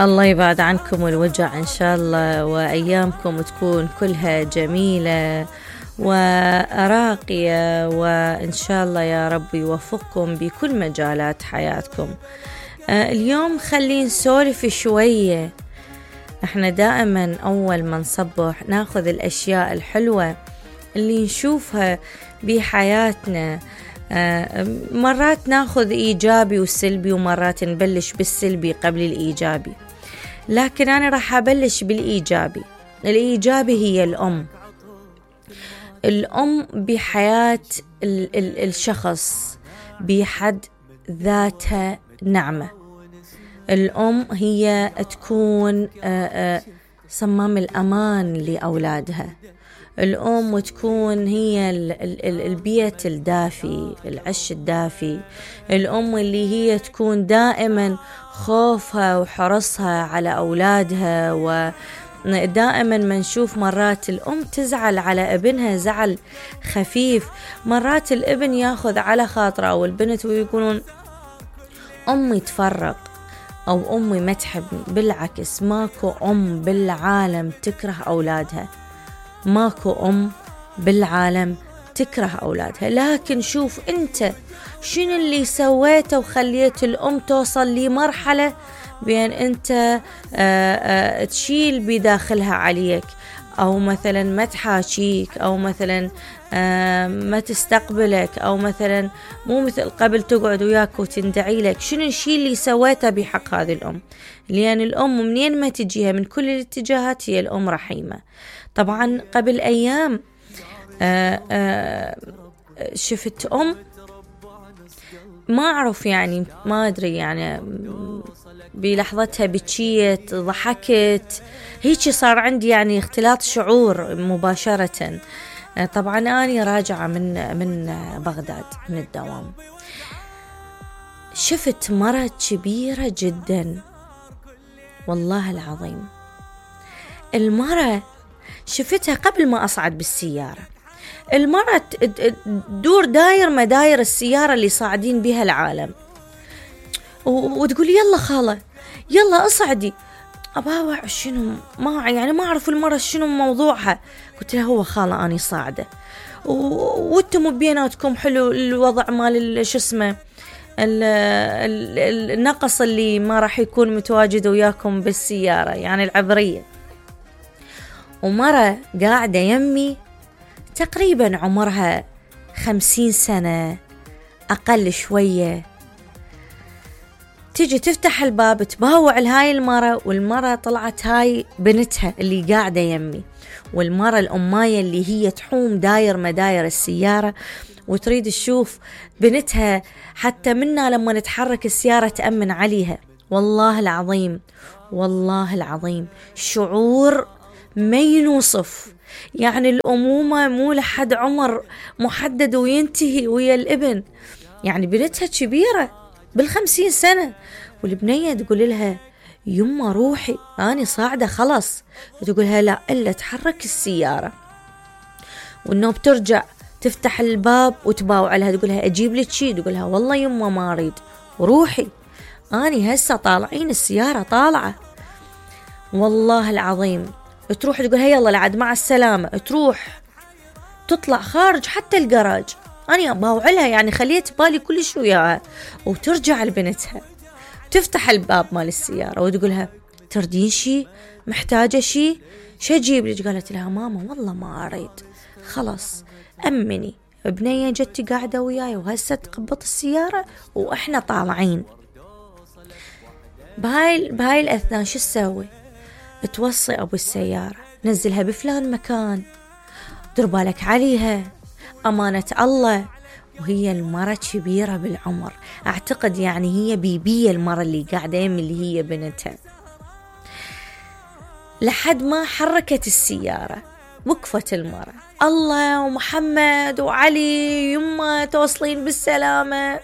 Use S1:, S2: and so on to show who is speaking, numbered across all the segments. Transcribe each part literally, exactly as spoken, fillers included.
S1: الله يبعد عنكم الوجع إن شاء الله، وأيامكم تكون كلها جميلة وراقية، وإن شاء الله يا رب يوفقكم بكل مجالات حياتكم. آه اليوم خلينا نسولف شوية. احنا دائما أول ما نصبح ناخذ الأشياء الحلوة اللي نشوفها بحياتنا. آه مرات ناخذ إيجابي وسلبي، ومرات نبلش بالسلبي قبل الإيجابي، لكن أنا راح أبلش بالإيجابي. الإيجابي هي الأم. الأم بحياة ال- ال- الشخص بحد ذاتها نعمة. الأم هي تكون آه آه صمام الأمان لأولادها. الأم تكون هي البيت الدافي، العش الدافي. الأم اللي هي تكون دائما خوفها وحرصها على أولادها، ودائما ما نشوف مرات الأم تزعل على ابنها زعل خفيف. مرات الابن ياخذ على خاطره أو البنت ويقولون أمي تفرق أو أمي ما تحبني. بالعكس، ماكو أم بالعالم تكره أولادها، ماكو أم بالعالم تكره أولادها. لكن شوف أنت شنو اللي سويته وخليت الأم توصل لمرحلة بأن أنت آآ آآ تشيل بداخلها عليك، أو مثلا ما تحاكيك، أو مثلا ما تستقبلك، أو مثلا مو مثل قبل تقعد وياك وتندعي لك. شنو الشيء اللي سويته بحق هذه الأم؟ لأن الأم منين ما تجيها من كل الاتجاهات هي الأم رحيمة. طبعا قبل أيام آآ آآ شفت أم ما أعرف يعني ما أدري يعني بلحظتها بكيت ضحكت هيك، صار عندي يعني اختلاط شعور مباشرة. طبعا أنا راجعة من من بغداد من الدوام، شفت مرة كبيرة جدا والله العظيم. المرة شفتها قبل ما أصعد بالسيارة. المرة تدور داير مداير السيارة اللي صاعدين بها العالم، وتقول يلا خالة يلا أصعدي. أباوع شنو ما يعني ما أعرف المرة شنو موضوعها. قلت لها هو خالة أني صاعدة، وانتم بيناتكم حلو الوضع مال شو اسمه النقص اللي ما راح يكون متواجد وياكم بالسيارة يعني العبرية. ومرة قاعدة يمي تقريبا عمرها خمسين سنة أقل شوية، تيجي تفتح الباب تباوع لهاي المرة، والمرة طلعت هاي بنتها اللي قاعدة يمي، والمرة الأماية اللي هي تحوم داير مداير السيارة وتريد تشوف بنتها، حتى منا لما نتحرك السيارة تأمن عليها. والله العظيم والله العظيم شعور ما ينوصف. يعني الأمومة مو لحد عمر محدد وينتهي ويا الابن. يعني بنتها كبيرة بالخمسين سنة، والبنية تقول لها يما روحي أنا صاعدة خلاص، تقولها لا إلا تحرك السيارة. والنوب ترجع تفتح الباب وتباوع لها تقولها أجيب لك شي، تقولها والله يما ما أريد وروحي أنا هسه طالعين السيارة طالعة. والله العظيم تروح تقولها يلا لعد مع السلامة، تروح تطلع خارج حتى الجراج أنا أباوع لها يعني خليت بالي كل شو وياها. وترجع لبنتها تفتح الباب مال السيارة وتقولها تردين شي محتاجة شي شو أجيب لك؟ قالت لها ماما والله ما أريد خلاص أمني، بنية جتي قاعدة وياي وهسه تقبط السيارة وإحنا طالعين. بهاي بهاي الأثناء شو تسوي؟ توصي أبو السيارة نزلها بفلان مكان، دير بالك عليها أمانة الله. وهي المرة كبيرة بالعمر، أعتقد يعني هي بيبية المرة اللي قاعدة يمي اللي هي بنتها. لحد ما حركت السيارة وقفت المرة، الله ومحمد وعلي يما توصلين بالسلامة.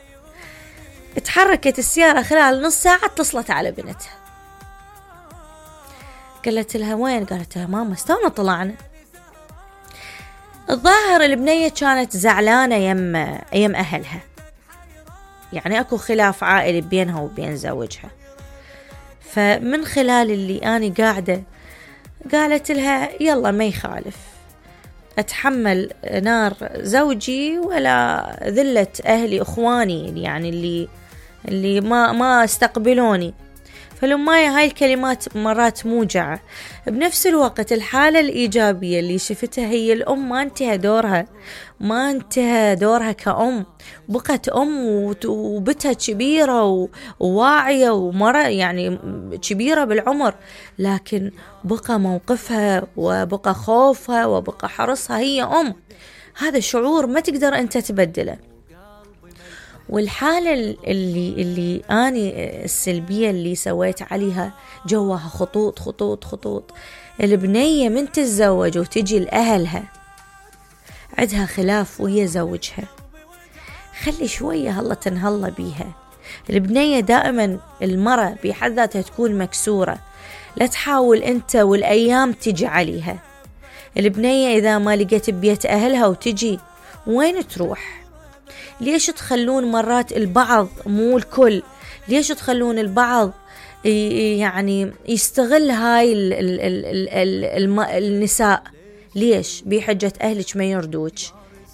S1: اتحركت السيارة خلال نص ساعة اتصلت على بنتها، قالت لها وين؟ قالت لها ماما استونا طلعنا. الظاهر البنية كانت زعلانة يم يم أهلها، يعني أكو خلاف عائلي بينها وبين زوجها، فمن خلال اللي أنا قاعدة قالت لها يلا ما يخالف أتحمل نار زوجي ولا ذلة أهلي أخواني يعني اللي اللي ما ما استقبلوني. فالأماية هاي الكلمات مرات موجعة. بنفس الوقت الحالة الإيجابية اللي شفتها هي الأم ما انتهى دورها ما انتهى دورها كأم، بقت أم وبتها كبيرة وواعية ومرة يعني كبيرة بالعمر، لكن بقى موقفها وبقى خوفها وبقى حرصها، هي أم. هذا شعور ما تقدر أنت تبدله. والحالة اللي اللي أنا السلبية اللي سويت عليها جواها خطوط خطوط خطوط. البنية من تتزوج وتجي لأهلها عندها خلاف ويا زوجها، خلي شوية هلا تنهلا بيها. البنية دائما المرة بحد ذاتها تكون مكسورة، لا تحاول أنت والأيام تجي عليها. البنية إذا ما لقيت بيت أهلها وتجي وين تروح؟ ليش تخلون مرات البعض مو الكل، ليش تخلون البعض يعني يستغل هاي ال ال ال ال ال ال النساء؟ ليش؟ بحجة أهلك ما يردوك،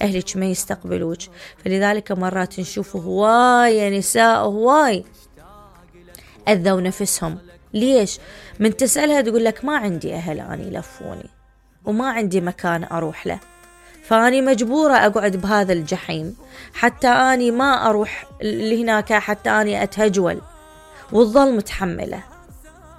S1: أهلك ما يستقبلوك. فلذلك مرات نشوف هواي نساء هواي أذوا نفسهم. ليش؟ من تسألها تقول لك ما عندي أهل أني يلفوني وما عندي مكان أروح له، فأني مجبورة أقعد بهذا الجحيم حتى أني ما أروح لهناك، حتى أني أتهجول وتظل متحملة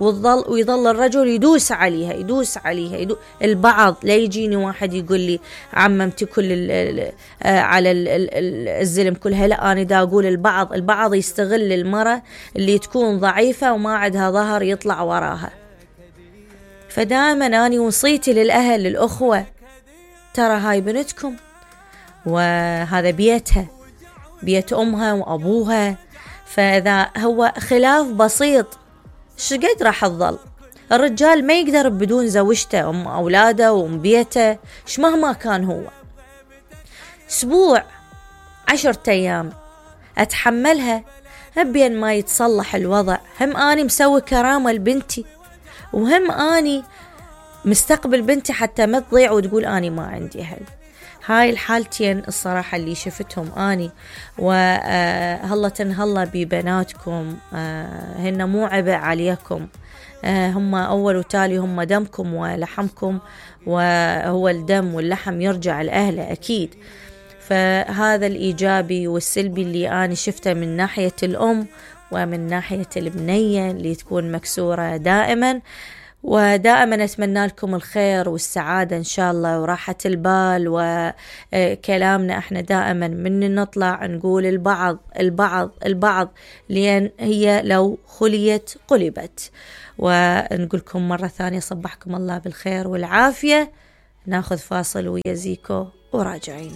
S1: وتظل ويظل الرجل يدوس عليها يدوس عليها يدوس. البعض لا يجيني واحد يقول لي عممتي كل ال ال على ال ال الزلم كلها، لا أنا دا أقول البعض البعض يستغل المرأة اللي تكون ضعيفة وما عندها ظهر يطلع وراها. فدائما أنا وصيتي للأهل للأخوة ترى هاي بنتكم وهذا بيتها بيت أمها وأبوها، فإذا هو خلاف بسيط شقد راح تظل. الرجال ما يقدر بدون زوجته أم أولاده وأم بيته ش مهما كان هو. أسبوع عشرة أيام أتحملها بين ما يتصلح الوضع، هم أني مسوي كرامة لبنتي وهم أني مستقبل بنتي حتى ما تضيع وتقول أني ما عندي أهل. هاي الحالتين الصراحة اللي شفتهم أني، وهلا تنهلا ببناتكم، هن مو عبء عليكم، هم أول وتالي هم دمكم ولحمكم، وهو الدم واللحم يرجع لأهله أكيد. فهذا الإيجابي والسلبي اللي أنا شفته من ناحية الأم ومن ناحية البنية اللي تكون مكسورة دائما. ودائما أتمنى لكم الخير والسعادة إن شاء الله وراحة البال. وكلامنا احنا دائما من نطلع نقول البعض البعض البعض، لأن هي لو خليت قلبت. ونقولكم مرة ثانية صبحكم الله بالخير والعافية. ناخذ فاصل ويا زيكو وراجعين.